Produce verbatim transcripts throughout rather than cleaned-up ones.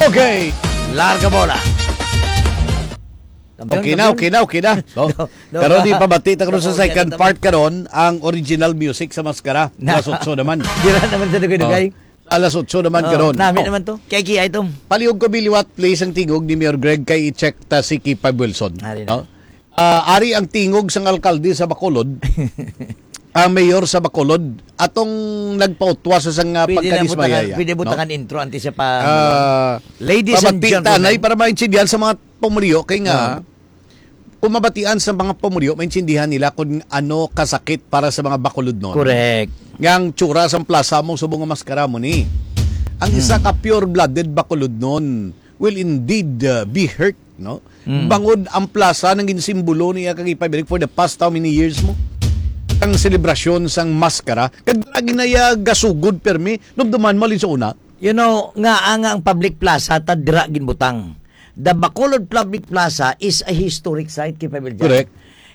Okay. Larga bola. Kampiyon, Okay na, kampiyon. okay na, okay na. Oh. No, no. Karon, di pabati ta karon sa Oh, second yan, part karon, ang original music sa Maskara. Na. Alas otso naman. Dira naman sa dugay-dugay. Oh. Alas otso naman Oh, karon. nami Oh. naman to. Kay Kiay to. Palihog ko biliwat, please, ang tingog ni Mayor Greg kay i-check ta si Kipab Wilson. Ari na. Oh. Ah, ari ang tingog sang alkalde sa Bacolod. Ang mayor sa Bacolod, atong nagpautwa sa sang, ah, Pwede na pagkadismayaya, butangan, pwede no? butangan intro antes siya pa, Ah, Ladies and pabati gentlemen. tanay para maintindihan sa mga pumuluyo kay nga, Ah. kung mabatian sa mga pumuluyo, maintindihan nila kung ano kasakit para sa mga Bacolodnon. Correct. Nga ang tsura sang plaza mo subong nga maskara mo ni. Ang isa Hmm. ka pure-blooded Bacolodnon will indeed, uh, be hurt, no? Hmm. Bangod ang plaza nang ginsimbolo niya kag ipabirik for the past how many years mo? Ang selebrasyon sang maskara, kag lagi na iya gasugod permi, numduman mo alin sa una? You know, nga ang, ang public plaza ta dira ginbutang. The Bacolod Public Plaza is a historic site, Kipab Wiljan. Correct.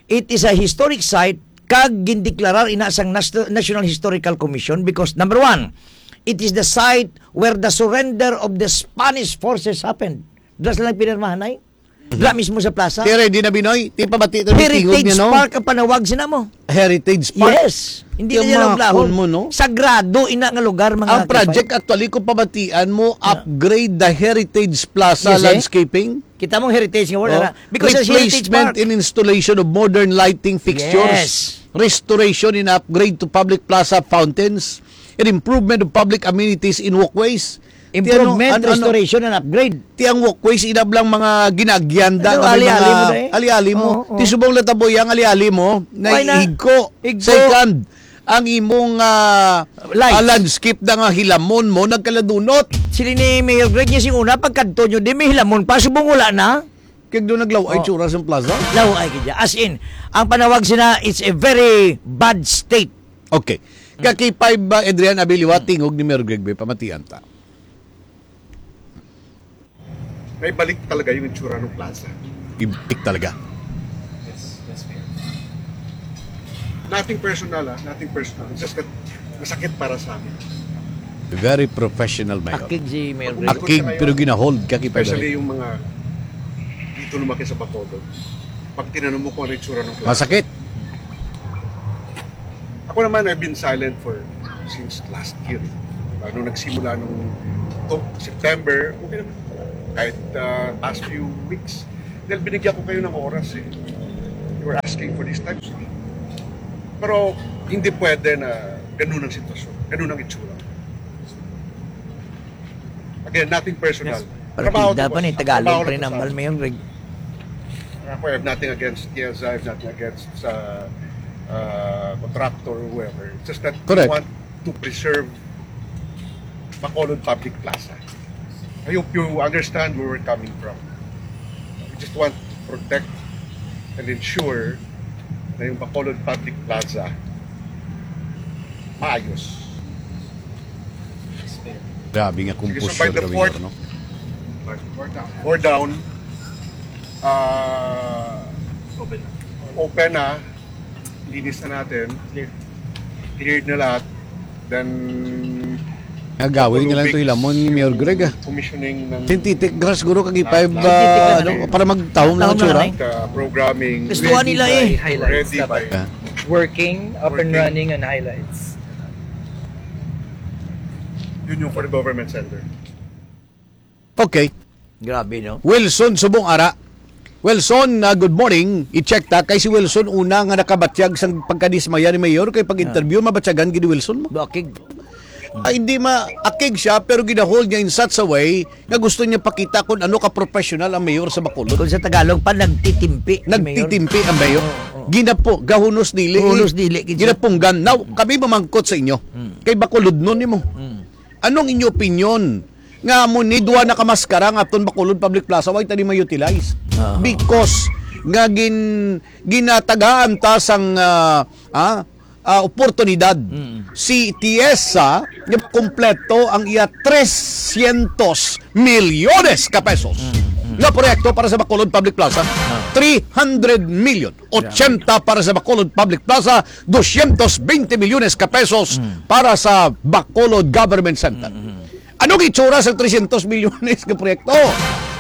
It is a historic site kag gindeklarar ina sang Nas-, National Historical Commission because, number one, it is the site where the surrender of the Spanish forces happened. Dira sila pinirmahan, ay? Mhm. Dira mismo sa plaza. Ti ready na, Binoy? Ti pabati na ni tingog Heritage niya, no? Park ang panawag sina mo. Heritage Park. Yes. Hindi na Yung niya mga lablahon. kun mo, no? Sagrado ina nga lugar, mga Ang kipay. project, actually, kung pabatian mo, Yeah. upgrade the Heritage Plaza Yes, eh. landscaping. Kita mo ang heritage nga wala Oh. na. Because it's Heritage Replacement Park. and installation of modern lighting fixtures. Yes. Restoration and upgrade to public plaza fountains. And improvement of public amenities in walkways. Ti ano, Improvement, ano, ano, restoration, and upgrade. ti ang walkways, inablang mga ginagyanda Ano, nga may ali-ali mga mo na eh. ali-ali mo. Oo, oo. Ti subong natabo yang ali-ali mo, Why na? naiigko. Igko. Second, ang imong, ah, Lights. ah, landscape na nga hilamon mo, nagkaladunot. Sila ni Mayor Greg niya sing una, pagkadto nyo, di may hilamon pa, subong wala na. Kag doon naglaw ay Oh. tsura sa plaza? Law ay kaya. As in, ang panawag sina, it's a very bad state. Okay. Kaki five ba, Adrian Abiliwa, tingog ni Mayor Greg Bay, pamatian ta. May balik talaga yung itsura ng plaza. Ibalik talaga. Yes, yes, Mayor. Nothing personal, ah. Nothing personal. It's just that masakit para sa amin. Very professional, Mayor. Akig si Mayor Greg. Akig, pero ginahold ka, kita Especially dali. yung mga dito lumaki sa Bacolod. Pag tinanong mo kung ano yung itsura ng plaza. Masakit. Ako naman, I've been silent for, since last year. Ano, nagsimula nung to, September, okay naman. Kahit, ah, past few weeks, dahil binigyan ko kayo ng oras eh. You were asking for these types of things. Pero hindi pwede na ganun ang sitwasyon, ganun ang itsura. Again, nothing personal. Yes. Trabaho Partida to, pa ni boss. Tagalog Trabaho pa to, rin ang boss. Balmayon, Greg. Ako, I have nothing against Tiesa, I have nothing against sa, ah, contractor or whoever. It's just that we Correct. want to preserve Bacolod Public Plaza. I hope you understand where we're coming from. We just want to protect and ensure na yung Bacolod Public Plaza maayos. Grabe nga Sige, so kumpusyon by the kami fourth, ngayon, no? Four down. Ah, open na. Linis na natin. Cleared na lahat. Then, Nagawin nila ito hilamon ni Mayor Greg, ah. Commissioning ng Synthetic grass, guro, kag i-five, Synthetic ah, grass, ano, eh. para magtahom lang ang Tahom lang, tsura. eh. Uh, programming. Gusto nila, eh. Ready by, ready by. Yeah. Working, up and Working. running on highlights. Yun yung for the government center. Okay. Grabe, no? Wilson Subong Ara. Wilson, ah, good morning. I-check ta kay si Wilson una nga nakabatyag sang pagkadismaya ni Mayor kay pag-interview, Ah. mabatyagan gid ni Wilson mo. Bakig. Ah, hindi ma-, akig siya, pero ginahold niya in such a way nga gusto niya pakita kung ano ka professional ang mayor sa Bacolod. Kung sa Tagalog pa, nagtitimpi si Mayor. Nagtitimpi ang mayor. Oo, oo. Ginapo, gahunos dili. Gahunos dili, kinsa? Ginapunggan. Now, kami mamangkot sa inyo. Hmm. Kay Bacolodnon nimo. Hmm. Anong inyo opinion nga mo ni duwa na ka maskara nga aton Bacolod Public Plaza, why tani ma-utilize? Ah. Because nga gin-, ginatagaan ta sang, ah, ah, ah, oportunidad Mm. si Tiesa nga kompleto ang iya trescientos milyones ka pesos Mm, mm. nga proyekto para sa Bacolod Public Plaza. Ah. Three hundred million, ochenta para sa Bacolod Public Plaza, doscientos veinte milyones ka pesos Mm. para sa Bacolod Government Center. Mm, mm. Anong itsura sa trescientos milyones nga proyekto?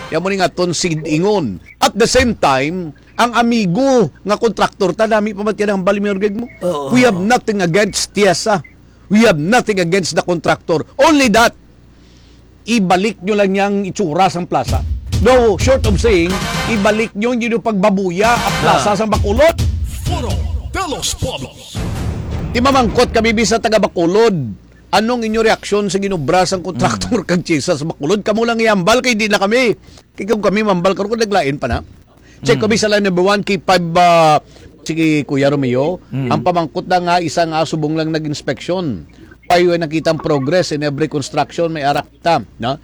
Yan mo ni nga aton sigid ingon. At the same time, ang amigo nga kontraktor ta, nami pa ba tiyan ang bali, Mayor Greg, mo? Oo. We have nothing against Tiesa. We have nothing against the contractor. Only that, ibalik nyo lang yang itsura sang plaza. No, short of saying, ibalik nyo yung pagbabuya ang plaza Ah. sang Bacolod. Foro de los Pueblos. Timamangkot kami, bisa taga Bacolod. Anong inyo reaksyon sa ginobra sang kontraktor Mm. kag Tiesa sa Bacolod? Kamo lang ihambal kay di na kami. Kay kung kami mambal karon, kung naglain pa na. Check Mm. kami sa line number one, K five, ah, sige, Kuya Romeo. Mm. Ang pamangkot na nga, isa nga subong lang nag-inspeksyon. Why, why nakita ang progress in every construction, may arak ta, no?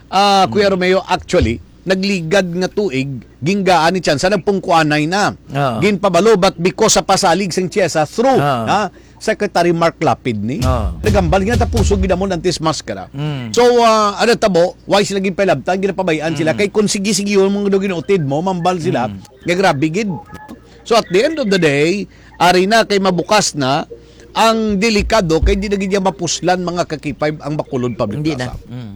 Ah, Kuya Mm. Romeo, actually, nagligad nga tuig, ginggaan ni Tiesa, nagpungkuanay na. Ah. Ginpabalo, but because sa pasalig sang Tiesa through, Ah. ha? Secretary Mark Lapid ni. Ah. Nagambal nga tapusog gid amon antes maskara. Mm. So, ah, ano tabo, why sila ginpailabtan, ginapabayaan sila. Mm. Kay kung sige-sige yung mga ginuutid mo, mambal sila, Mm. nga grabe gid. So, at the end of the day, ari na kay mabukas na ang delikado kay di na gid niya mapuslan mga ka-K five ang Bacolod Public Hindi na. Plaza. Mm.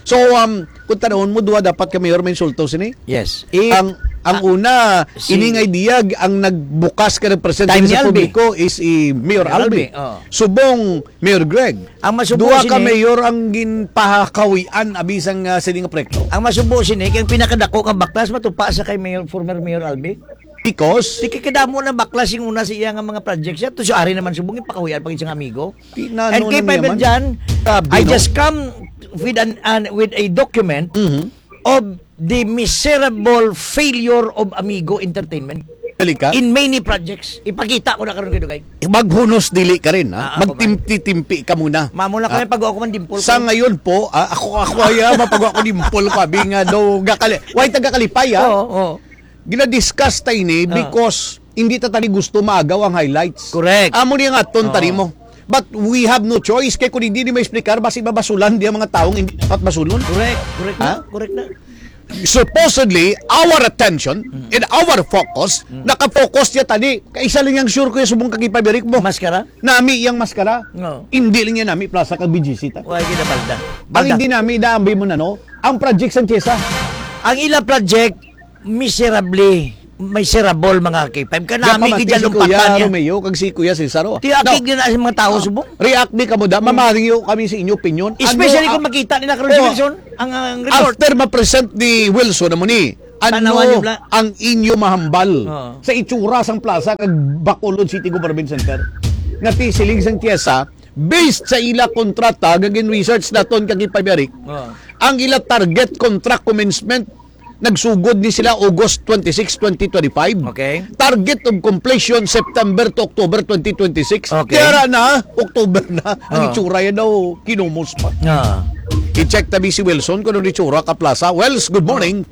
So, um, kung tanawon mo, duha dapat ka mayor may insulto sini. Yes. If Ang, ang ah, una, si ining idea, ang nagbukas ka ng presente Time ni sa Albi. publiko is si Mayor Mayor Albi. Albi, oh. Subong, Mayor Greg. Ang masubo Duha ka sini mayor ang ginpahakawian, abi sang, ah, sini nga proyekto. Ang masubo sini, kay ang pinakadako nga baklas matupa sa kay Mayor, former Mayor Albi. Because? Di kay kadamo na baklas yung una sa iya nga mga projects siya. To si Ari naman subong, ipakawian pag isang amigo. Di na, And no, kay na Fiber naman. Jan, Grabe, I no? just come with an, an, with a document Mhm. of the miserable failure of Amigo Entertainment Dali ka? in many projects. Ipakita ko na karon kay Dugay. Maghunos dili ka rin, ha? Ah, ako ba? Magtimpi-timpi ka muna. Mamo na ko Ah. yung pag-uwa ko man dimple Sa ko. ngayon po, ah, ako, ako ay, ah, mapag-uwa ko dimple ko, abi nga daw, gakali-, why taga kalipay, ah? Oo, oo. Gina-discuss ta ini Ah. because hindi ta tani gusto maagaw ang highlights. Correct. Amo ni ang aton Oo. tani mo. But we have no choice kay kung hindi ni ma-explicar, basi mabasulan di ang mga taong hindi dapat basulon. Correct. Correct na. Ha? Correct na. Supposedly, our attention Mm. and our focus, Mm. nakafocus niya tani. Kay isa lang yang sure ko yung subong kagipabirik mo. Maskara? Nami yang maskara. Oo. Hindi lang niya nami plaza kag B G C ta. Why ginabalda? Ang Balda. hindi nami, naambi mo na, no? Ang project sang Tiesa. Ang ila project, miserably, miserable, mga K five. Kanami Gapamati gid si dyan Kuya lumpatan niya. Romeo kag si Kuya Cesar, oh. Ti akig Now, din na sa mga tao, ah, subong. react di kamo da, Mm. mamariyo kami sa inyo opinion. Especially Ano, kung ah, makita nila karon si oh, Wilson, ang, ang report. after ma-present ni Wilson, amo ni, ano Tanawan niyo bla? ang inyo mahambal Oo. sa itsura sang plaza kag Bacolod City Government Center? Nga ti siling sang Tiesa, based sa ila kontrata, nga gin-research naton kag ipabirik, Oo. ang ila target contract commencement nagsugod ni sila August twenty-six, twenty twenty-five. Okay. Target of completion September to October twenty twenty-six. Okay. Kaya na, October na. Ang Ah. itsura yan daw, kinumos pa. Ah. I-check tabi si Wilson kung ano itsura ka plaza. Wells, good morning.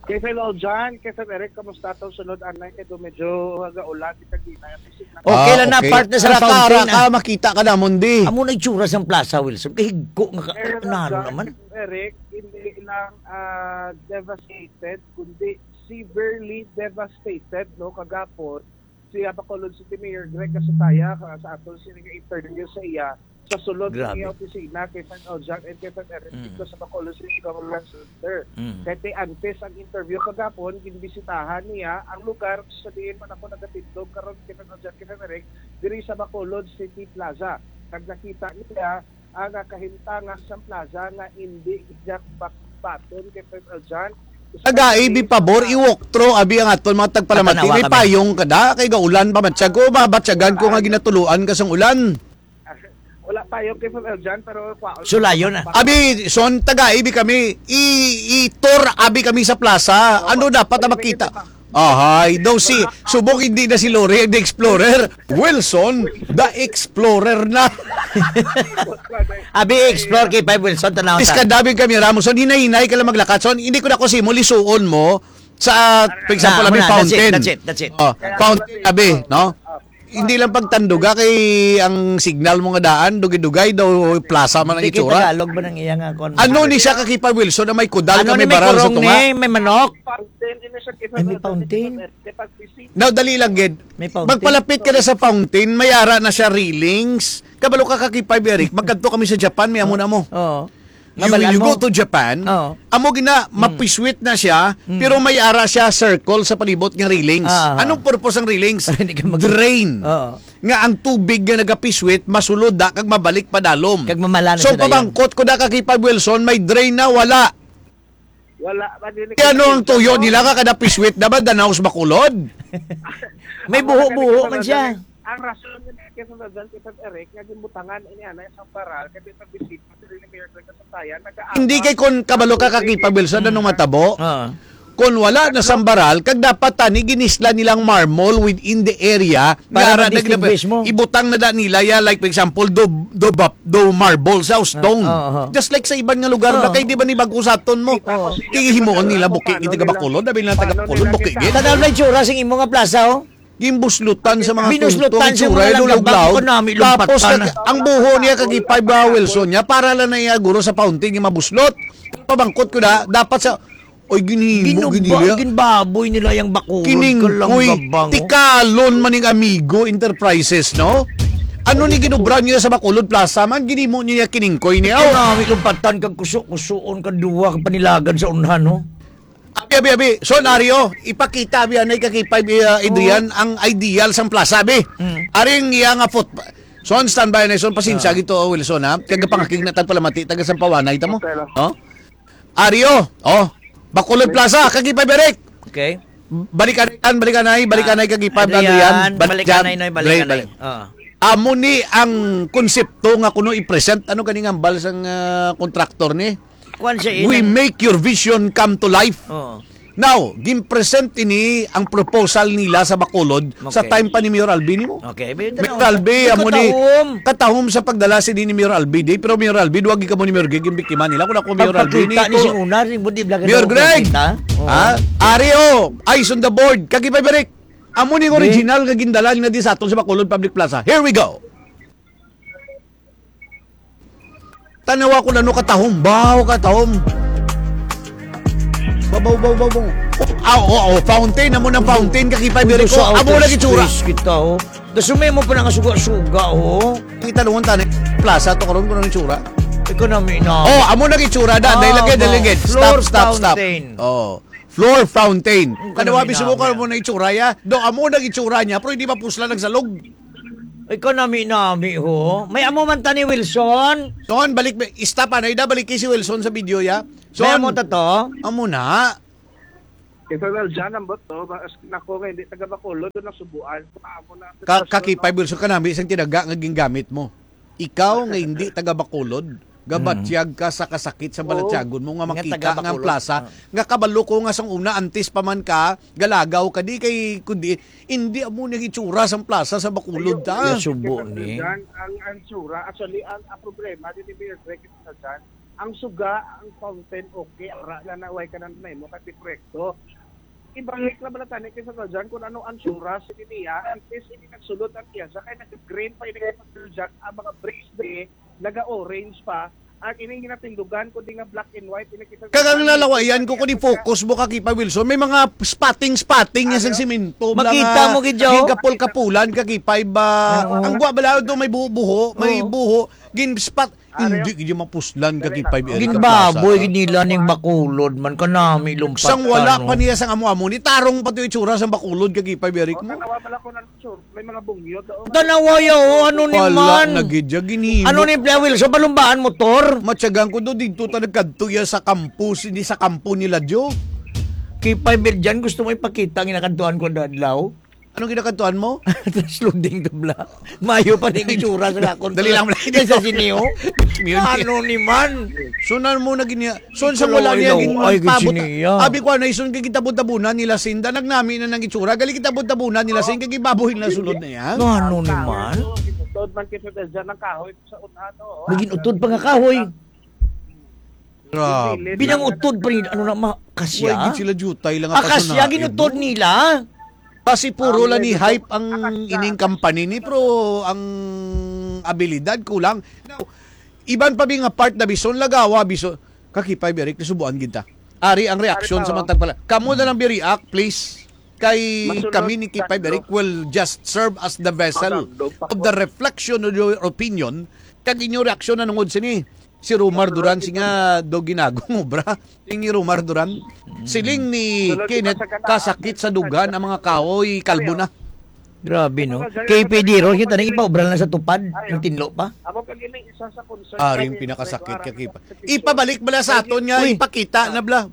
Kay Sir Lol John, kay Sir Eric, kamusta atong sunod anay? Kay do medyo gaulan, di tagina. Okay Ah, lang na, okay. partner sa Ara ka, ara quarantine, ka, ah. makita ka namon, di. Amo na itsura sang plaza, Wilson. Kahigko nga ka-, Sir Lol naro John, naman. Sir Eric, hindi lang, ah, devastated, kundi severely devastated, no, kagapon. Si Bacolod City Mayor Greg Casutaya, ka-, sa aton sini nga interview sa iya, sa sulod sa Grabe. iya opisina kay Fred Oljak and kay Fred Eric Mm. dito sa Bacolod City Government Center. Mm. Kay ti antes ang interview kagapon, ginbisitahan niya ang lugar sa diin man ako nagatindog karon kay Fred Oljak, kay Fred Eric, diri sa Bacolod City Plaza. Kag nakita niya ang, ah, kahimtangan sa plaza nga hindi gid bakbaton kay Fred Oljak. Tagai, bi pabor, i-walk through, abi ang aton mga tagpalamati. Patanawa May kami. payong ka da, kay gaulan pa man siya. Kung mabatyagan ko nga ginatuluan ka sang ulan. Wala pa yung kay Fred John, pero kwa-, Sulayon na. Abi, son, tagai bi kami. I-, i-tour abi kami sa plaza. Oo, Ano dapat na pwede, makita? pwede pa. Ahay, daw si, subok hindi na si Lori, the Explorer. Wilson, the Explorer na. Abi, explore kay Five Wilson, tanaw ta. Iskadabi kami, Ramos. Son, hinay-hinay ka lang maglakad. Son, hindi ko na ko simo, lisuon mo. Sa, for example, Na, abi, na, that's it, fountain. that's it, that's it. Oh, fountain, abi, no? Hindi lang pagtanduga kay ang signal mo nga daan, dugay-dugay daw, plaza man ang Hindi kay itsura. Tagalog man ang iya nga kon- Ano ni siya, Kakipay Wilson, na may kudal Ano nga ni may may barang sa kurong tunga? ni, may manok? Fountain, ini siya, Ay, may fountain. Now, dali lang, gid. May fountain? Magpalapit ka na sa fountain, may ara na siya railings. Kabalo ka, Kakipay Eric, magkadto kami sa Japan, may amo na mo. Oo. You, Mabal-an you mo. go to Japan, Oo. amo gina, Mm. mapiswit na siya, Mm. pero may ara siya circle sa palibot nga railings. Ah, ah. Anong purpose ang railings? Para hindi ka mag- Drain. Oo. Nga ang tubig nga nagapiswit, masulod da kag mabalik padalom. Kag mamala na So, sila yan. pabangkot ko da, Kakipay Wilson, may drain na, wala. Wala, madili Kaya ano ang tuyo nila ka kada piswit na ba, danaw sa Bacolod? May Ang buho-buho mga man siya. Ang rason nga kaya sa Dodon, kay Sir Eric, nga ginbutangan ini ana isang paral, kay may pagbisita sa ni Mayor Greg Kasutayan, nag-aawat. Hindi kay kon kabalo ka, Kakipay Wilson, anong matabo? Ah. Kon wala na sambaral, kag dapat tani ginisla nilang marmol within the area, Para nga ara na ma-distinguish gina-, mo. ibutang na da nila ya, like, for example, do, do, bap-, do marble sa stone. Ah, oo, oo. Just like sa iban nga lugar na Oo. kay di ba ni bago sa aton mo? Oo. Kay himuon nila buki gid taga Bacolod, abi lang taga Bacolod, buki gid. Tanaw na itsura sing imo nga plaza, oh. Gimbuslutan sa mga Binuslutan tungtong, sa mga itsura, langgam, luluglaw. Ako na, may Tapos lumpatan. nag-, ang buho niya, Kakipay Wilson niya, para lang na iya guro sa fountain nga mabuslot. Pabangkot ko na, dapat sa, oy, ginhimo, Ginuba-, ginilya. ginbaboy nila yung Bacolod, Kiningkoy, kalanggabang, oh. Tikalon man ning Amigo Enterprises, no? Ano ni ginubra niya sa Bacolod Plaza man, ginhimo niya kiningkoy niya, oh. Ito na, may lumpatan kag kuso-kusoon, kag duwa, kag panilagan sa unhan, no? Abi, abi, abi. So, Nario, ipakita, abi, anay, Kakipay, uh, Adrian, Oo. ang ideal sang plaza, abi. Mm. Aring iya nga foot-, Son, standby na, son, pasensya Ah. gito, oh, Wilson, ha? Kagapangakig na tagpalamati, taga Sampawanay, tamo? Okay lang. Oh? Ario, oh, Bacolod Plaza, Kakipay Eric. Okay. Balikanay, tan, balikanay, balikanay, Ah, Kakipay, Adrian, Adrian, balik balikanay, dyan. Noy, Dre, balikanay. balik. Ah. Amo ni ang konsepto nga kuno i-present, ano gani nga hambal sang, ah, kontraktor ni? Kuwan siya, We inang- make your vision come to life. Oo. Now, gin-present ini ang proposal nila sa Bacolod sa Okay. time pa ni Mayor Alvin mo. Okay, may Mayor tanaw. Alvin, May amo ni katahom. katahom sa pagdala sini ni Mayor Alvin, di, pero Mayor Alvin, wag ka mo ni Mayor Greg, yung biktima nila. Kung ako, Mayor Alvin, Pagpakita ni ito. si Una, si Budi Vlog, Mayor ano, Greg, pagpakita? Oo. ha? Ari, oh, eyes on the board. Kagipay Berik. Amo ni Di. original nga gindala na di sa aton sa Bacolod Public Plaza. Here we go. Tanawa ko na no, katahom. Baw, katahom. Babaw, baw, baw, baw. Oh, ah, oh, oh, fountain. Amo ng fountain, Kakipay Berico. Amo lagi tsura. Kita, oh. Dasumay mo pa na nga suga-suga, oh. Kita doon, tani. Plaza to karon, kung anong tsura. Ikaw na, may na. Oh, amo lagi tsura, da. Ah, Dahil lagi, dahil lagi. Stop, floor stop, stop. fountain. Oh. Floor fountain. Ang Kanawa, kanami bismo ka namin. mo na itsura, ya. Do, amo nang itsura niya, pero hindi mapusla nagsalog. Ay, kanami-nami, ho. May amo man ta ni Wilson. Son, balik, stop, anay da, balik kay si Wilson sa video, ya. May Son, amo ta to? amo na. Kay Sir Valjan, ang buto, mas nako nga hindi taga Bacolod, doon ang subuan. Paamo na ang Ka-, sitwasyon, kakipay, no? Wilson, kanami isang tinaga nga gingamit mo. Ikaw nga hindi taga Bacolod, gabatyag ka sa kasakit sa Oo. balatyagon mo nga Nga makita taga nga ang Bacolod. plaza, Ah. nga kabalo ko nga sang una, antes pa man ka, galagaw ka, di kay, kundi, hindi amo nang itsura sang plaza sa Bacolod, Ayun. ta. Nasubo Kay ni. Sir Valjan, ang, ang tsura, actually, ang, ang problema, di ni Mayor Greg, Sir Valjan, ang suga, ang fountain, okay, ara na na, way ka na na mo, kasi proyekto. Ibalik na bala tani kay Sir Valjan kung ano ang tsura sa niya, antes ini nagsulod ang iya, sa kay nag-green pa ini kay Sir Valjan, ang mga bricks di, naga-orange pa, ang ining ginatindugan, kundi nga black and white, ini kay Sir Kag ang Valjan, lalawayan ko, kung i-focus mo, Kakipay Wilson, may mga spotting-spotting niya sa Ano? simento, Makita mga mo, gid, Joe. gigapol-kapulan, Kakipay ba? Oo. Ang gwa bala ito, may buho-buho, may Oo. buho, gin-spot, Ano hindi yun? gid yung mapuslan, Kakipay, Eric, ang Ginbaboy, plaza. gid nila ning Bacolod man, kanami lumpatan, Sang wala no? pa niya sang amo-amo, ni tarong pa to itsura sang Bacolod, Kakipay, Eric O, mo. tanawa pala ko na, sure. May mga bungyo doon. Tanawa, yo, ano ni Wala man? na gid ya, ginhimo. Ano ni Playa Wilson? Palumbaan motor? Matyagan ko do, dito ta nagkadto ya sa campus, hindi sa kampo nila, Jo. Kay Fiber dyan, gusto mo ipakita ang ginakantuan ko na adlaw? Anong ginakantuan mo? Transloading the block. Mayo pa ning itsura sa akon. Dali lang, dali. Sa siniyo? Mute. Ano ni man? Sunan mo na gini-, Son, sa wala niya Hello, gin-, hello. Ay, pabot-, gid siya. Abi ko, ano, ison, kay kita bunta-bunan nila, Sinda, nagnami na nang itsura. Gali kita bunta-bunan nila, Sin, kay baboy na sulod na yan. Ano ni man? Utod man kita dyan ng kahoy sa unahan, oh. Naging utod pa nga kahoy. Grabe. Binang utod pa rin, ano na, ma-, kasya? Wala gid sila jutay lang. Ah, kasya, ginutod nila. Basi puro lang ni hype ang ining company ni, pero ang abilidad kulang. Now, iban pa bi nga part na bison lagawa, bison, kakipay bi, Eric, nasubuan gid ta. Ari ang reaksyon sa mga tagpala. Kamo na lang bi react, please. Kay kami ni Kipay Eric will just serve as the vessel of the reflection of your opinion. Kag inyo reaksyon na nungod sini. Si Romar Duran, si nga do ginagong obra. Ingi Romar Duran. Siling ni Kenneth, kasakit sa dugan ang mga kahoy, kalbo na. Grabe, no? K P D ron, kita na ipaobra na sa tupad, ang tinlo pa. Amo pa gini isa sa concern. Ari ang pinakasakit ka, Kipa. Ipabalik bala sa aton nga, ipakita na bala.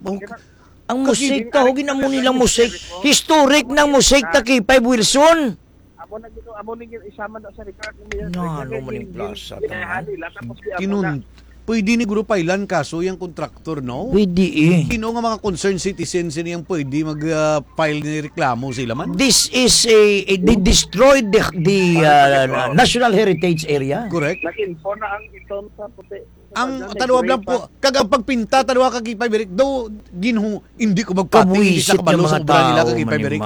Ang musik ta, hugin amo nilang musik. Historic ng musik ta, Kipay Wilson. Amo na gito, amo ni gito, isa man sa record ni Mayor. No, ano man yung plaza, taman? Nila, tapos di amo na. Kinun-, pwede ni Guro pailan kaso yung contractor, no? Pwede eh. Sino nga mga concerned citizens ini ang pwede mag, ah, file ni reklamo sila man? This is a, a, they destroyed the, the, ah, National Heritage Area. Correct. Nag-info na ang itom sa puti. Ang tanawa lang po, kag ang pagpinta, tanawa ka Kipay Eric, daw ginhu, hindi ko magpati, hindi sa kabalo sa obra nila ka Kipay Eric.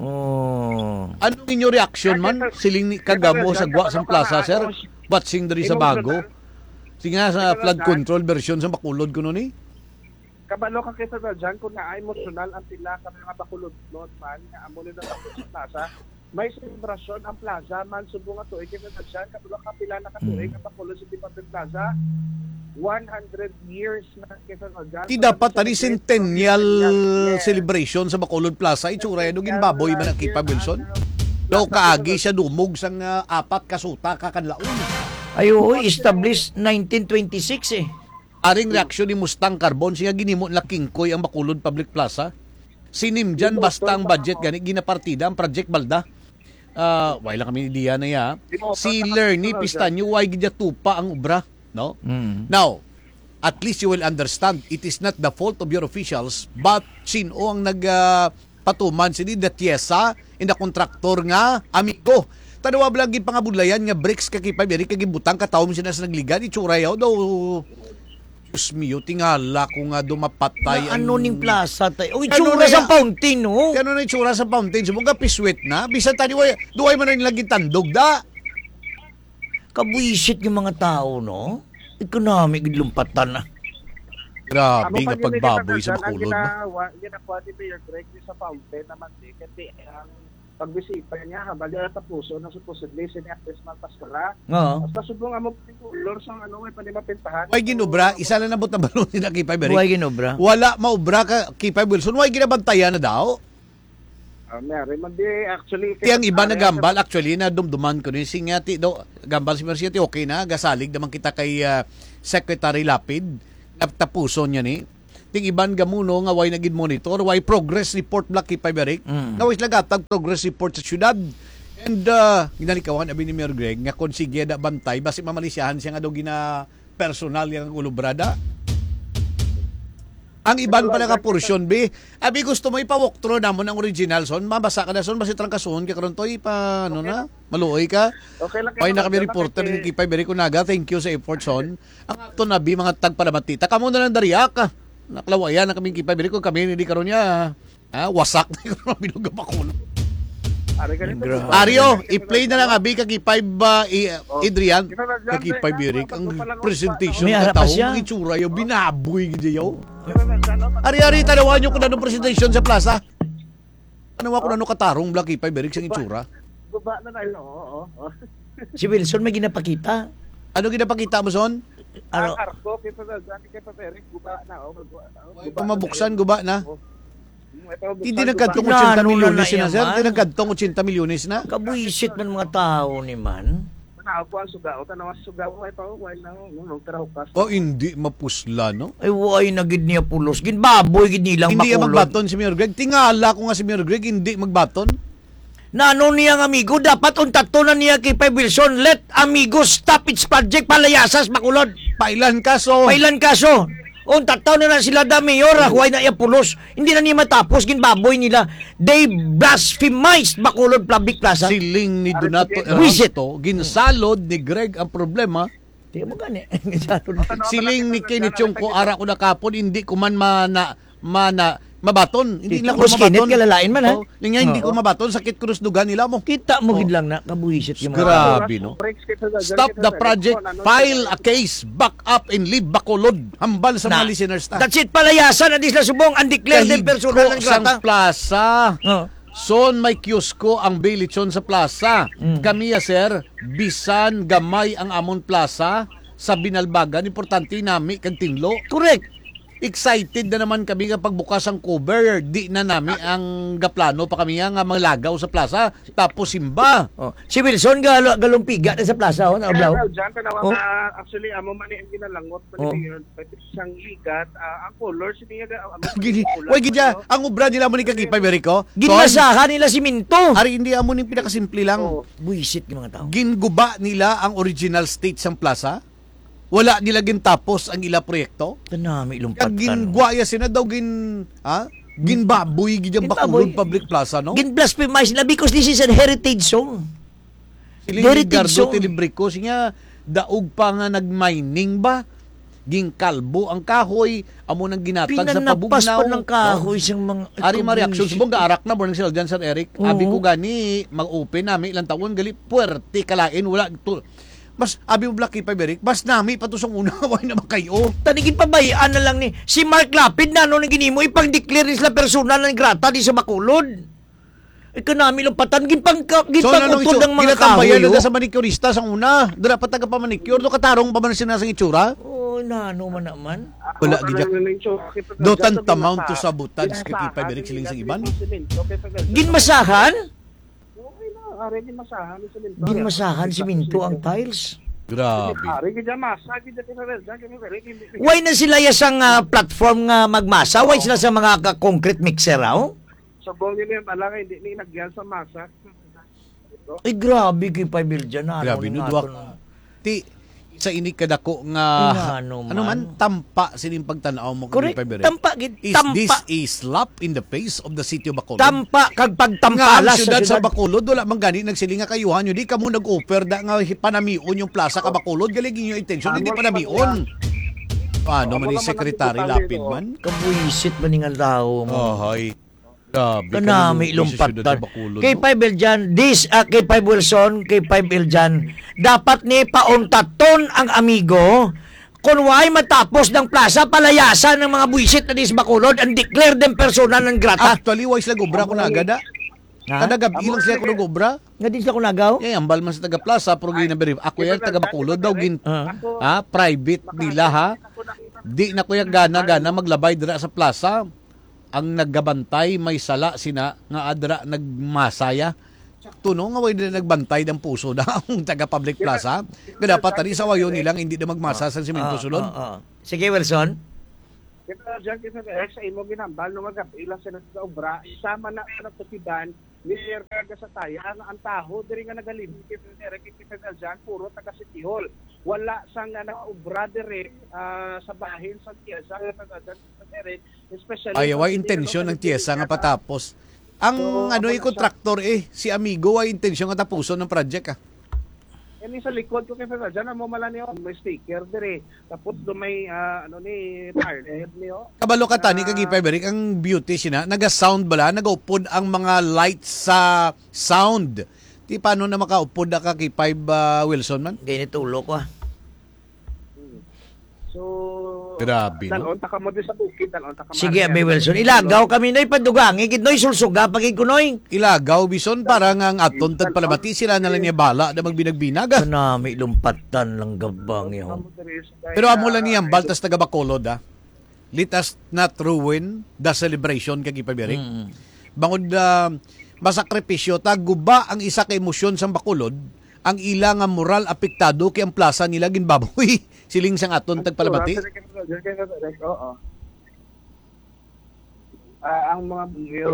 Oh. Anong inyo reaksyon man? Siling ni kagamo sa gwa sang plaza, sir. Watching diri sa bago. Sige nga sa flood control version sa Bacolod kuno ni. Kabalo ka kay sa dyan kung naa emosyonal ang pila ka mga Bacolodnon man nga amo nila sa plaza. May selebrasyon ang plaza man subong nga tuig kay sa dyan, kabalo ka pila na ka tuig ang Bacolod City Public Plaza. One hundred years na kay sa dyan. Di dapat tani centennial celebration sa Bacolod Plaza, itsura yan, ginbaboy man ang Kipay Wilson. Daw kaagi siya dumog sang, ah, apat ka suta ka kanlaon. Ay, oo, established nineteen twenty-six eh. Aring reaksyon ni Mustang Carbon, siya ginimo nila kingkoy ang Bacolod Public Plaza. Sinimjan basta ang budget gani, ginapartida ang project balda. Ah, wala lang kami idea na ya. Si Lerny Pistanyo, why gid tupa ang obra, no? Mm. Now, at least you will understand, it is not the fault of your officials, but sino ang nag, ah, patuman sini, the T S A, and the contractor nga amigo. Tanawa lang gid pangabudlayan nga bricks ka Kipay Eric kag gibutang ka tawo sina sa nagligan, itsura yaw daw. Diyos mio, tingala ko nga dumapatay. Ano ning plaza tay? O, itsura sa fountain, no? Ano na itsura sa fountain? Subong ka piswit na. Bisan tani way, duway man na nila gitandog da. Kabwisit nga mga tao, no? Economic gid lumpatan na. Grabe nga pagbaboy sa Bacolod, no? Ginakuha ni Mayor Greg sa fountain naman, eh. Kasi ang pagbisita niya, ha, bali, tapuson na supposedly si Ate Esmal Pascara. Oo. Basta subong amo pati color sa ano, may panimapintahan. Way ginobra, isa lang nabot na balon ni Kipay Eric. Way ginobra. Wala maobra ka, Kipay Wilson. Way ginabantayan na daw. Ah, may ari man di, actually, ti ang iba nagambal, actually, na dumduman ko ni si nga ti do gambal si Mercy, ti okay na, gasalig naman kita kay, ah, Secretary Lapid, natapuson niya ni. Ting iban gamuno nga way nagid monitor, way progress report, Black Kipay Berik, mm, nga way sila gatag progress report sa syudad. And, ah, ginalikawan abi ni Mayor Greg nga kung sige da bantay, basi mamalisyahan siya nga daw gina personal yang ulubrada. Ang iban pa nga portion, bi. Abi, gusto mo ipa-walkthrough namon ang original, son? Mabasa ka na, son? Basi trangkason ka karon to, ipa, ano na? Maluoy ka? Okay lang. Ay, na kami reporter ni Kipay Berico Naga. Thank you sa effort, son. Ang ato na, bi, mga tagpalamatita. Kamo na lang, dariya ka. Naklawayan na kami, Kipay Berico. Kami, hindi karon niya. Ah, wasak na yung mga binuga bakulo. Ari ka nito. Grabe. Ario, i-play na lang abi kag i-five ba, i-, Oh. Adrian? Kag i-five, Eric, ang presentation. May harap pa siya. Ang itsura, yung binaboy gid yaw. Ari, ari, tanawan nyo kung anong presentation sa plaza. Ano ako na katarong, Black i-five, Eric, sa itsura? Guba na na, oo, oo, oo. Si Wilson may ginapakita. Ano ginapakita mo, son? Ano? Ang arko, kay Papa Johnny, kay Papa Eric, guba na, oh, guba na, oh. Guba na. Pamabuksan, guba na. Oh. Hindi nagkadtong ochenta milyones na, sir. Hindi nagkadtong ochenta milyones na. Kabuisit man mga tao ni man. Tanaw ko ang suga, o, tanaw ang suga, o, ito, why na, no, no, pero hukas. Oh, hindi mapusla, no? Ay, why na gid niya pulos? Ginbaboy gid nilang Bacolod. Hindi magbaton si Mayor Greg. Tingala ko nga si Mayor Greg, hindi magbaton. Nano niya ang amigo? Dapat untato na niya kay Five Wilson. Let amigo stop its project, palayasas, Bacolod. Pailan kaso? Pailan kaso? Untat taon na, na sila da mayor, ah, huway na iya pulos. Hindi na niya matapos, ginbaboy nila. They blasphemized Bacolod Public Plaza. Siling ni Donato Buisit. Ernesto, ginsalod ni Greg ang problema. Di mo gani. Ginsalod. Siling ni Kenneth Chong ko, ara ko na kapon, hindi ko man mana, mana, Mabaton. Hindi nila ko mabaton. Kalalain man, ha? Oh, niya, hindi ko mabaton. Sakit ko sa duga nila mo. Kita mo gid lang na, kabuhisit yung mga Grabe, no? Stop the project, file a case, back up and leave Bacolod. Hambal sa mga listeners ta. That's it, palayasan na di sila subong, ang declare din personal ng grata. Plaza. Oh. Son, may kiosko ang Bilichon sa plaza. Mm. Kami, ya, sir, bisan gamay ang amon plaza sa Binalbagan, importante nami kag tinlo. Correct. Excited na naman kami nga pagbukas ang cover, di na nami ang gaplano pa kami nga, nga manglagaw sa plaza, tapos simba. Oh, si Wilson galo-, galumpiga na sa plaza, oh, na Kaya, Oblaw. Well, dyan, tanawa Oh. nga, actually, amo man ni ang ginalangot, man Oh. ni Mayor, pati siyang ligat, ah, ang color, sini nga, ah, amo, Gini, pula, way gid siya, ano? Ang obra nila mo ni Kagipa, Merico. Ginmasahan nila simento. Ari, hindi amo ni pinakasimple lang. Oh. Buisit yung mga tao. Ginguba nila ang original state sang plaza. Wala nila gintapos ang ila proyekto. Tanami, Kag lumpatan. Gingwa ya sina daw gin, ha? Ginbaboy gid ang Ginbaboy. Bacolod Public Plaza, no? Gin-blasphemize na because this is a heritage zone. Siling ni Heritage Gardo zone. Tilibrico, siya daog pa nga nag-mining ba? Gingkalbo ang kahoy, amo nang ginatag sa Pinanapas pabugnaw. Pa ng kahoy Oh. Siyang mga Ari, mga reaksyon. Subong gaarak na, born sila dyan, Sir Eric. Oo. Abi ko gani, mag-open nami ilang taon, gali, puwerte kalain, wala to. Mas, abi mo, Blacky pa, Eric, mas nami pa to sa una, wala na makayo. Tani, ginpabayaan na lang ni, si Mark Lapid na, ano, nang ginimo, ipag-declare ni sila personal ng grata di sa Bacolod. Ikaw nami lang patan, ginpangka-, So, ano nang ginpangutod itsura? Ng mga Ginatambayan kahoy, na oh. Sa manicurista sa una. Dira pa taga pa manicure, do katarong pa man sila sa itsura. Oh, nano man naman. Wala Wala gid na lang yung tsura. Kita Do sa tantamount to dyan, sabotage, Ginmasahan kay Kipa Direk, siling sa nila iban. Yung simento, kaya tagal- Ginmasahan? Okay na, are, ginmasahan yung simento. Ginmasahan simento ang tiles. Grabe. Are, gid masa, gid sa Kipa Direk, gid sa Kipa Direk, hindi- Why na sila ya sang, ah, platform nga magmasa? Why sila sa mga ka-, concrete mixer, aw? Subong nila yung ala nga hindi ni nagyan sa masa. Ay, grabe kay Five L dyan, ano Grabe, ni no, nga Duwak. Aton. Ti, sa ini kadako nga, Ano, ano man, man? Tampa sining pagtanaw mo kay Correct. Five L. Tampa, gid, Is tampa. This a slap in the face of the city of Bacolod? Tampa, kag Nga pagtampala ang sa syudad sa syudad. Bacolod, wala man gani nagsiling nga kayuhan nyo. Di kamo nag-offer da nga panamion yung plaza ka Bacolod. Galing yung intention, hindi Ano, panamion. Paano Ano man ni naman ang Secretary detalye Lapid doon? Man? Kabuisit man nga tao mo. Ohoy. Grabe Kanami kayo, lumpatan. Sa syudad sa Bacolod, Kay no? Five L dyan, this, ah, kay Five Wilson, kay Five L dyan, dapat ni pauntaton ang amigo kung why matapos ng plaza, palayasan ng mga buwisit na dis Bacolod and declare them persona non grata. Actually, why sila gobra kung nagada? Ha? Kada gabi lang sila kung gobra. Nga di sila kung nagaw? Eh, ambal man sa taga plaza, pero ginabiri. Ako yan, taga Bacolod daw, gin, Ah. ha? Private nila, ha? Di na ko yung gana-gana maglabay dira sa plaza. Ang nagabantay may sala sina nga adra nagmasaya. Sakto, no, nga way nila nagbantay ng puso na ang taga Public Plaza. Nga dapat tani sa wayo nila nga hindi na magmasa sa simento Ah, sulod. Ah, ah. Sige, Wilson. Kita dyan, kita dyan, sa imo ginambal, nung magkapila sila sa obra, isa man na sa natukiban, Mayor Carga sa Taya, ang, ang taho diri nga nagalibot kay Mayor Carga dyan, puro taga City Hall. Wala sang, ah, nakaobra diri, ah, sa bahin sa Tiesa, nga taga dyan, sa Tere, especially Ay, sa way City Hall, intensyon sa ng Tiesa nga City Hall. Patapos. Ang So, ano, wala eh, siya. Kontraktor, eh, si Amigo, ay intensyon nga tapuson ng project, ah. Yan yung sa likod ko kay Fred, dyan ang mumala niyo, may sticker diri. Tapos do may, ah, ano ni, target niyo. Kabalo ka, tani, Ah. Kag Ipa Eric, ang beauty sina, naga-sound bala, nagaupod ang mga lights sa sound. Di paano na makaupod na ka kay Five, ah, Wilson man? Ganit ulo ko, ah. Hmm. So, Grabe, no? Dalon ta ka mo din sa bukid, dalon ta ka Sige, Maria, Abi Wilson. dalon ta Ilagaw kami, Noy, padugangi, gid, Noy, sulsuga, pagid ko, Noy. Ilagaw, Bison, para nga ang aton tagpalamati, sila na lang niya bala na magbinag-binag, ah. Kanami, lumpatan lang gabang, eh, ho. Pero amo lang niyang baltas taga Bacolod, ah. Let us not ruin the celebration, kag ipabirik. Mm. Bangod, ah, masakripisyo ta, guba ang isa ka emosyon sang Bacolod, ang ila nga moral apektado kay ang plaza nila ginbaboy. Siling sang aton tagpalamati. Oo. Ah, ang mga bungyo.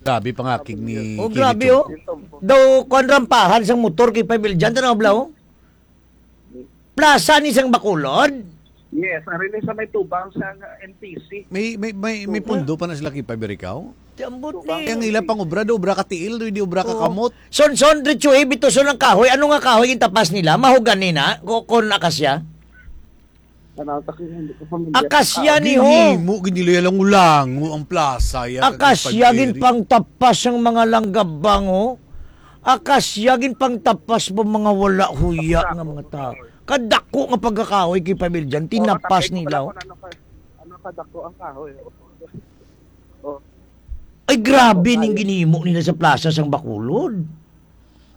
Grabe pangakig ni Oh, Kili grabe, Chong. Oh. Daw, kuwan rampahan sang motor kay Five L dyan, tanaw, bla, oh. Plaza ni sang Bacolod? Yes, ari ni sa may tubang sa N T C. May, may, may, may Tubang. Pundo pa na sila kay Five Eric, oh. Di, ambot ni Ang ila pang obra, do obra ka tiil, do, di obra ka Oh. Kamot. Son, son, diretso, eh, bituson ang kahoy. Ano nga kahoy yung tapas nila? Mahogani na? Ko-, kon akasya? Tanaw ta kay hindi ko familiar sa Akasya tao. Ni ho. Ginhimo, ginilay lang ulango ang plaza, ya, Akasya, kag gin pagdiri. Pangtapas ang mga langgabang, oh. Akasya, gin pangtapas po mga wala huya nga mga tao. Kadako nga pagkakahoy kay Pabil dyan, tinapas nila, oh. Ano ka, ano ka dako ang kahoy, oh. Oh. Ay, grabe ning ginhimo nila sa plaza sang Bacolod.